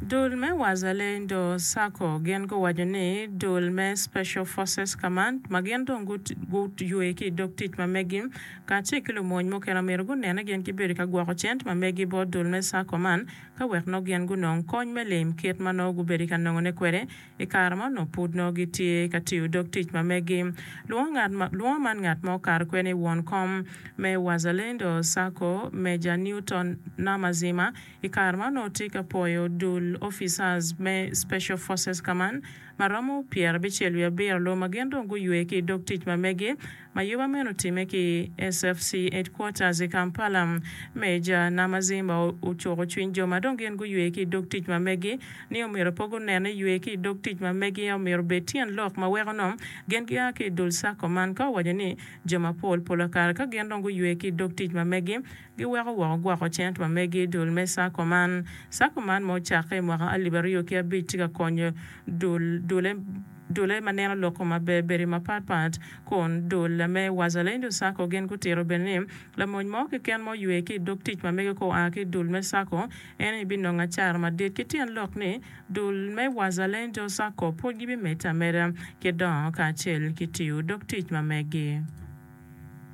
Dul me Wazalendo Sacco gin guwaco ni dul me Special Forces Command ma gin dong guywe ki i dog tic ma megi kacel ki lumony mukene omyero gunen ni gin gibedo ka gwoko cente ma megi bot dul me Sacco man ka wek nongo gin gunong kony me lim kit ma nongo gubedo ka nongone kwede i kare ma onongo pud nongo gitye ka tiyo dog tic ma megi. Lwongo man ngat ma okato kwede ni won kom me Wazalendo Sacco Major Newton Namazima I kare ma onongo tye ka pwoyo dul officers me Special Forces Command ma romo 77 lum ma gin dong guywe ki i dog tic ma megi ma yuba meno otimme ki i SFC Headquarters i Kampala. Major Namazimba ocuko cwiny jo ma dong gin guywe ki i dog tic ma megi ni omyero pe gunen ni ywe ki i dog tic ma megi omyero obed tyen lok ma weko nongo gin gia ki i dul sacco man ka owaco ni jo mapol pol kare ka gin dong guywe ki i dog tic ma megi Giweko woko gwoko cente ma megi i dul me Sacco man. Sacco man ma ocakke i mwaka 2005 tye ka konyo dul dule dule ma neno lok kom maber bedo mapat pat kun dul me Wazalendo Sacco gin gutito bene ni lamony mo keken ma oywe ki i dog tic ma mege ka oa ki i dul me Sacco en aye binongo acara madit ki tyen lok ni dul me Wazalendo Sacco pud gibimedde ameda ki dongo kacel ki tiyo dog tic ma megi.